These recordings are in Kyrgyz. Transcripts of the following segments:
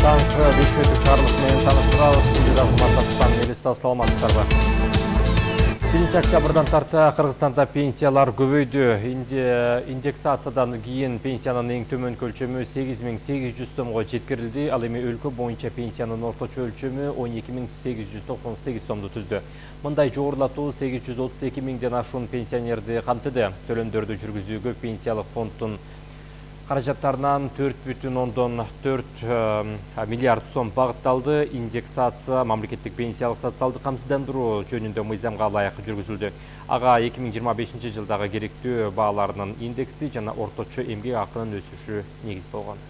таңкы 5 мүнөттүк чыгарылыш менен таныштырабыз. Студияда Мелисов, саламатсыздарбы? 1 октябрдан тарта Кыргызстанда пенсиялар көбөйдү. Индексациядан кийин пенсиянын эң төмөн өлчөмү 8800 сомго жеткирилди. Ал эми өлкө боюнча пенсиянын орточо өлчөмү 12898 сомду түздү. Мындай жогорулатуу 832 миңден ашуун пенсионерди камтыды. Төлөмдөрдү жүргүзүүгө пенсиялык фонддун каражаттарынан 4,4 миллиард сом багытталды. Индексация мамлекеттик пенсиялык социалдык камсыздандыруу жөнүндө мыйзамга ылайык жүргүзүлдү. Ага 2025 жылдагы керектүү бааларынын индекси жана орточо эмгек акынын өсүшү негиз болгон.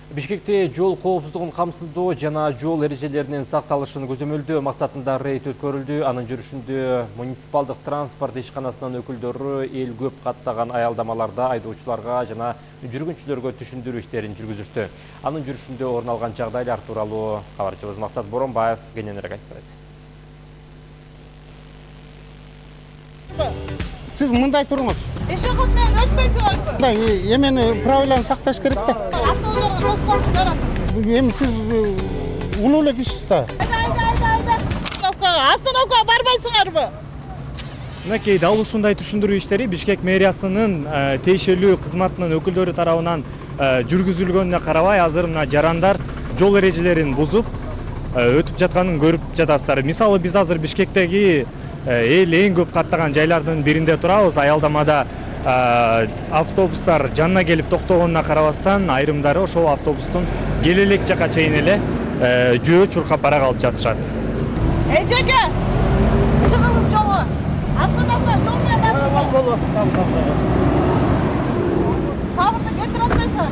Бишкекте жол коопсуздугун камсыздоо жана жол эрежелеринин сакталышын көзөмөлдөө максатында рейд өткөрүлдү. Анын жүрүшүндө муниципалдык транспорт ишканасынын өкүлдөрү эл көп каттаган аялдамаларда айдоочуларга жана жүргүнчүлөргө түшүндүрүү иштерин жүргүзүштү. Анын жүрүшүндө орун алган жагдайлар тууралуу кабарчыбыз Максат Боронбаев кененирээк айтып берет. Сиз мындай туруңуз. Пешеход менен өтпөйсүңөрбү? Мындай эмени правиланы сакташ керек да. Автоолорго тоскоолдук жарат. Эми сиз улуу эле кишисиз да. Айда. Остановкага барбайсыңарбы? Мынакей дал ушундай түшүндүрүү иштери Бишкек мэриясынын тиешелүү кызматынын өкүлдөрү тарабынан жүргүзүлгөнүнө карабай, азыр мына жарандар жол эрежелерин бузуп өтүп жатканын көрүп жатасыздар. Мисалы биз азыр Бишкектеги эл эң көп каттаган жайлардын биринде турабыз. Аялдамада автобустар жанына келип токтогонуна карабастан, айрымдары ошол автобустун келе элек жака чейин эле жөө чуркап бара калып жатышат. Эжеке, чыгыңыз жолго. Автономия жол менен барыңыз. Сабырды кетирип атпайсың.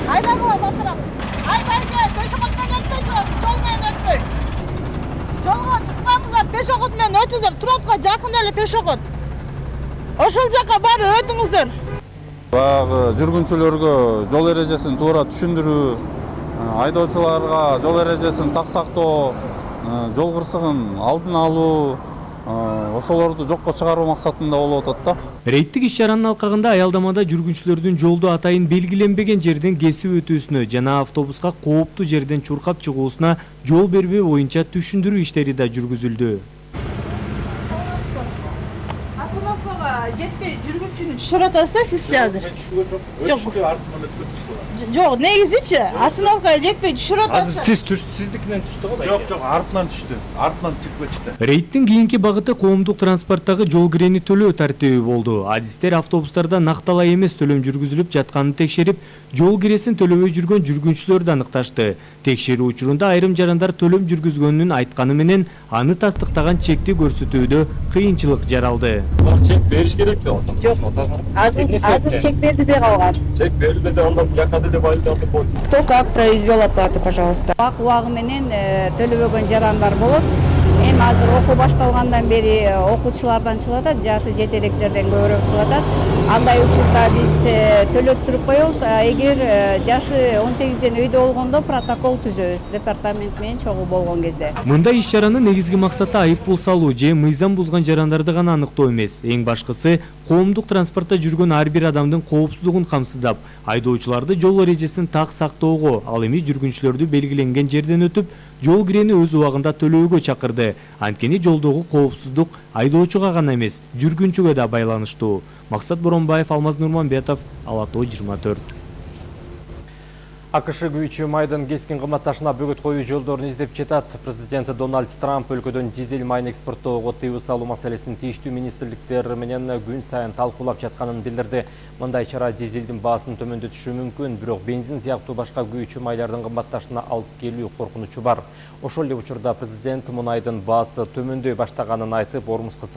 Айдагыла батырам. Айда, пешеход менен өтпөйсүңөр, жол менен өтпөй. Жолго чыкпаңыздар, пешеход менен өтүңүздөр. Туратка жакын эле пешеход. Ошол жака барып өтүңүздөр. Баягы жүргүнчүлөргө жол эрежесин туура түшүндүрүү, айдоочуларга жол эрежесин так сактоо, жол кырсыгын алдын алуу, ошолорду жокко чыгаруу максатында болуп атат да. Рейдтик иш-чаранын алкагында аялдамада жүргүнчүлөрдүн жолду атайын белгиленбеген жерден кесип өтүүсүнө жана автобуска кооптуу жерден чуркап чыгуусуна жол бербөө боюнча түшүндүрүү иштери да жүргүзүлдү. Остановкага жетпей жүргүнчүнү түшүрүп атасыз да сиз азыр. Жок, негизичи остановкага жетпей түшүрүп атасыз. Азыр сиздикинен түштү го? Жок, артынан түштү. Артынан чыгып кетти. Рейдтин кийинки багыты коомдук транспорттогу жол кирени төлөө тартиби болду. Адистер автобустарда накталай эмес төлөм жүргүзүлүп жатканын текшерип, жол киресин төлөбөй жүргөн жүргүнчүлөрдү аныкташты. Текшерүү учурунда айрым жарандар төлөм жүргүзгөнүн айтканы менен аны тастыктаган чекти көрсөтүүдө кыйынчылык жаралды. Чек бериш керек да. Жок. Азыр чек берилбей калган. Чек берилбесе анда бияка деле байланып койду. Кто как произвел оплату, пожалуйста. Убагы менен төлөбөгөн жарандар болот. Эми азыр окуу башталгандан бери окуучулардан чыгып атат, жашы жетелектерден көбүрөөк чыгып атат. Андай учурда биз төлөттүрүп коебуз. Эгер жашы 18ден өйдө болгондо протокол түзөбүз, департамент менен чогуу болгон кезде. Мындай иш-чаранын негизги максаты айып пул салуу же мыйзам бузган жарандарды гана аныктоо эмес. Эң башкысы коомдук транспортто жүргөн ар бир адамдын коопсуздугун камсыздап, айдоочуларды жол эрежесин так сактоого, ал эми жүргүнчүлөрдү белгиленген жерден өтүп, жол кирени өз убагында төлөөгө чакырды. Анткени жолдогу коопсуздук айдоочуга гана эмес, жүргүнчүгө да байланыштуу. Максат Боронбаев, Алмаз Нурманбетов, Ала Тоо 24. АКШ күйүүчү майдын кескин кымбатташына бөгөт коюу жолдорун издеп жатат. Президент Дональд Трамп өлкөдөн дизель майын экспорттоого тыюу салуу маселесин тийиштүү министрликтер менен күн сайын талкуулап жатканын билдирди. Мындай чара дизелдин баасын төмөндөтүшү мүмкүн, бирок бензин сыяктуу башка күйүүчү майлардын кымбатташына алып келүү коркунучу бар. Ошол эле учурда президент мунайдын баасы төмөндөй баштаганын айтып, Ормуз кызыга